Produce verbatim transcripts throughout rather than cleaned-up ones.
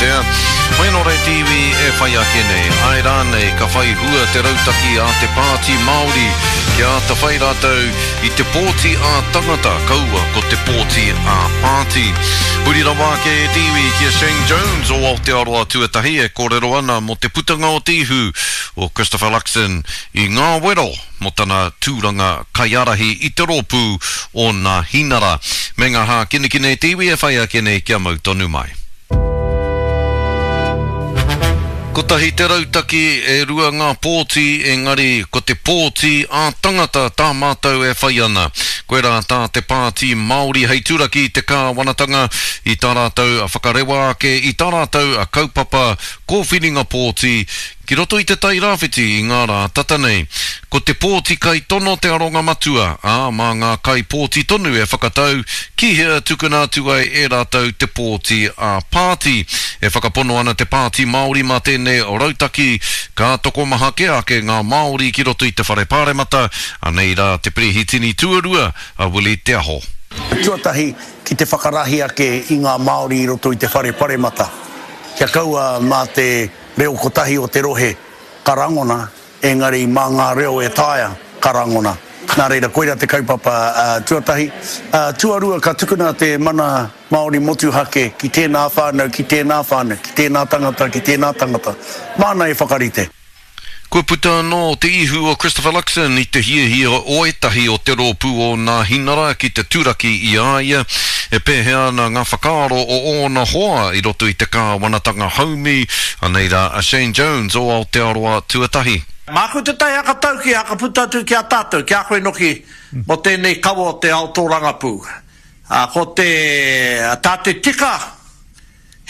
Waatea. Hoi anō rā te iwi e whai ake nei, āe rānei ka whai hua te rautaki a te Pāti Māori kia āta whai rātou i te pōti ā-tangata, kaua ko te pōti ā-pāti. Huri rawa ake e te iwi ki a Shane Jones o Aotearoa Tuatahi e kōrero ana mō te putanga o te ihu o Christopher Luxon i ngā wero mō tana tūranga kaiārahi i te rōpū o Nāhinara. Me ngā hākinakina e te iwi e whai ake nei kia mau tonu mai. Kotahi te rautaki, e rua ngā pōti, engari ko te pōti ā-tangata tā mātou e whai ana. Koirā tā te Pāti Māori hei turaki i te kāwanatanga i tā rātou whakarewa ake i tā rātou kaupapa kōwhiringa pōti ki roto i Te Tai Rāwhiti i ngā rā tata nei. Ko te pōti kaitono te aronga matua, ā, mā ngā kaipōti tonu e whakatau ki hea tukuna atu ai e rātou te pōti ā-pāti. E whakapono ana te Pāti Māori mā tēnei rautaki ka tokomaha kē ake ngā Māori ki roto i te Whare Pāremata, anei rā te Perehitini tuarua a Willie Te Aho. Tuatahi, ki te whakarahi ake i ngā Māori i roto i te Whare Paremata, kia kaua mā te reo kotahi o te rohe ka rangona, engari mā ngā reo e taea ka rangona. Nā reira, koira te kaupapa tuatahi. Tuarua, ka tukuna te mana Māori motuhake ki tēnā whānau, ki tēnā whānau, ki tēnā tangata, ki tēnā tangata. Māna e whakarite. Kua puta anō te ihu o Christopher Luxon i te hiahia o ētahi o te rōpū o Nāhinara ki te turaki i a ia. E pēhea ana ngā whakaaro o ōna hoa i roto i te kāwanatanga haumi? Anei rā a Shane Jones o Aotearoa Tuatahi. Māku tētahi hakatauki e hakaputa atu ki a tātou, ki a koe noki, mō tēnei kawa o te ao tōrangapū. Ā, ko te, tā te tika,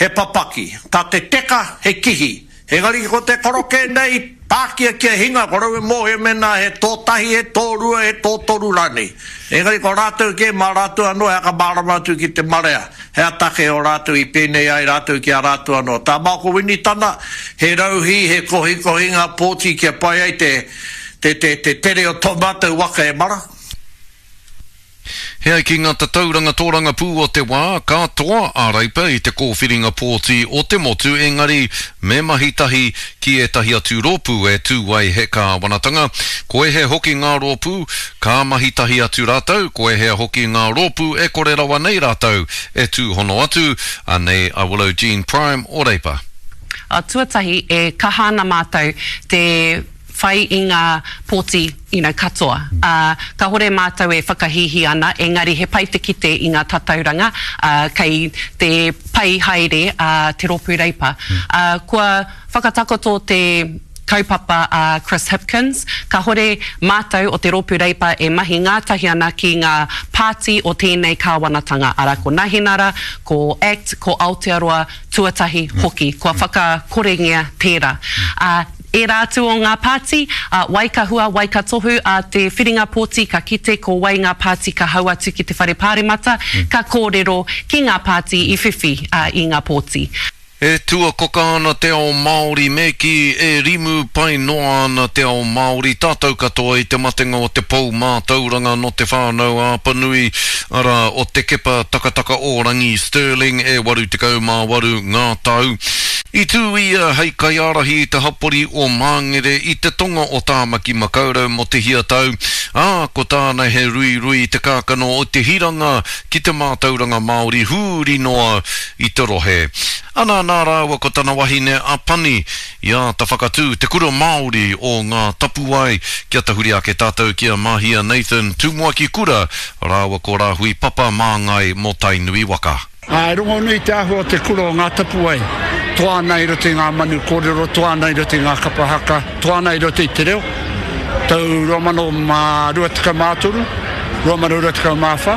he papaki, tā te teka, he kihi. Engari ko te koroke nei, pākia kia hinga, ko rau e mōhio mēnā he tō tahi, he tō rua, he tō toru rānei. Engari ko rātou kē, mā rātou anō e whakamārama atu ki te marea, he aha take o rātou i pēnei ai rātou ki a rātou anō. Tā Maoko Winitana, he rauhī, he kohikohinga pōti kia pai ai te, te, te, te tere o tō mātou waka e mara. He ai ki ngā tatauranga tōrangapū o te wā, ka toa a Reipa i te kōwhiringa pōti o te motu engari me mahi tahi ki ētahi atu rōpū e tū ai he kāwanatanga. Ko ēhea hoki ngā rōpū ka mahi tahi atu rātou, ko ēhea hoki ngā rōpū e kore rawa nei rātou e tūhono atu, anei a Willow Jean Prime o Reipa. Tuatahi, e kaha ana mātou te whai i ngā pōti you know, katoa. Ā, kāhore mātou e whakahīhī ana, engari he pai te kite i ngā tatauranga, ā, kei te pai haere a Te Rōpū Reipa. Ā, kua whakatakoto te kaupapa a Chris Hipkins, kāhore mātou o Te Rōpū Reipa e mahi ngātahi ana ki ngā pāti o tēnei kāwanatanga, arā, ko Nahinara, ko act, ko Aotearoa Tuatahi hoki, kua whakakorengia tērā. Ā, ērā atu o ngā pāti, ā, wai ka hua, wai ka tohu, ā te whiringa pōti ka kite ko wai ngā pāti ka hau atu ki te Whare Pāremata, ka kōrero ki ngā pāti i whiwhi i ngā pōti. E tuakoka ana te ao Māori me kī, e rimu pai noa ana te ao Māori, tātou katoa i te matenga o te pou mātauranga nō Te Whānau-a-Apanui, arā, o Te Kepa Takataka-o-Rangi Stirling e waru tekau mā waru ngā tau. I tū ia hei kaiārahi i te hapori o Māngere i te tonga o Tāmaki Makaurau mō te hia tau, ā, ko tāna he ruirui i te kākano o te hiranga ki te mātauranga Māori huri noa i te rohe. Ana nā rāua ko tana wahine a Pani i āta whakatū te kura Māori o Ngā Tapuwae kia tahuri ake tātou ki a Mahia Nathan, Tumuaki Kura, rāua ko Rāhui Papa Māngai mō Tainui waka. Ā, e rongonui te āhua o te kura o Ngā Tapuwae, toa ana i roto i ngā manu kōrero, toa ana i roto i ngā kapa haka, toa ana i roto i te reo. Tau rua mano mā rua tekau mā toru, rua mano rua tekau mā whā,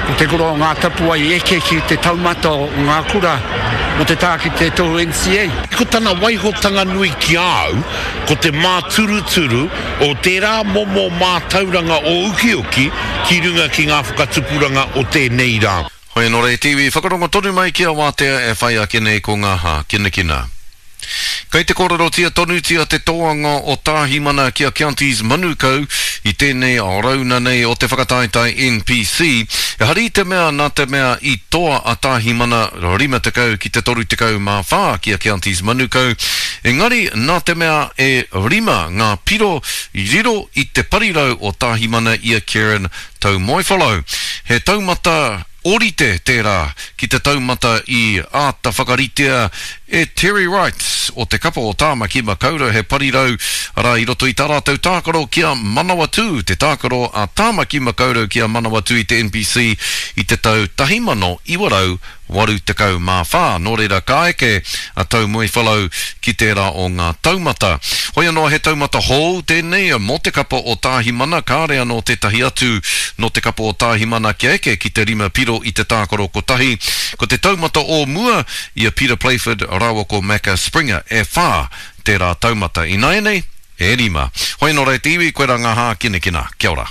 ko te kura o Ngā Tapuwae i eke ki te taumata o ngā kura mō te tā ki te tohu N C A. Ko tana waihotanga nui ki a au, ko te māturuturu o tērā momo mātauranga o ukiuki ki runga ki ngā whakatupuranga o tēnei rā. Hoi anō rei te iwi, whakarongo tonu mai ki a Wātea e whai ake nei ko ngā hākinakina. Kei te kōrerotia tonutia te toanga o Tāhimana ki a Counties Manukau i tēnei rauna nei o te whakataetae N P C. Ehara i te mea nā te mea i toa a Tāhimana rima tekau ki te toru tekau mā whā ki a Counties Manukau, engari nā te mea e rima ngā piro i riro i te parirau o Tāhimana i a Kieran Taumoewhalau. He taumata orite tērā ki te taumata i āta whakaritea e Terry Wright o te kapa o Tāmaki Makaurau, he parirau arā i roto i tā rātou tākaro ki a Manawatū, te tākaro a Tāmaki Makaurau ki a Manawatū i te N P C i te tau tahi mano iwa rau waru tekau mā whā. Nō reira ka eke a Taumoewhalau ki tērā o ngā taumata. Hoi anō he taumata hou tēnei mō te kapa o Tāhimana, kāre anō tētahi atu nō te kapa o Tāhimana kia eke ki te rima piro i te tākaro kotahi. Ko te taumata o mua i a Peter Playford rāua ko Macca Springer e whā tērā taumata. Ināianei, e rima. Hoi anō rei te iwi, koe rā ngā hākinakina. Kia ora.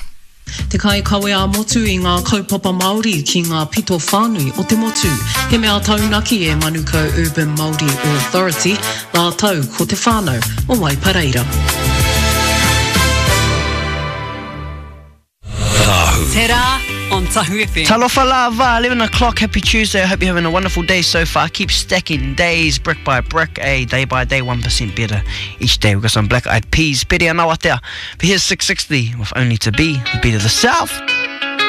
Te kai kawe a motu i ngā kaupapa Māori ki ngā pito whānui o te motu. He mea taunaki e Manukau Urban Māori Authority, rātou ko te whānau o Waipareira. Te rā on Tahu F M. Talofa lava, eleven o'clock, happy Tuesday. I hope you're having a wonderful day so far. Keep stacking days, brick by brick, a day by day, one percent better each day. We've got some Black Eyed Peas, Pere Anawatea. But here's six sixty with Only to Be, the beat of the South.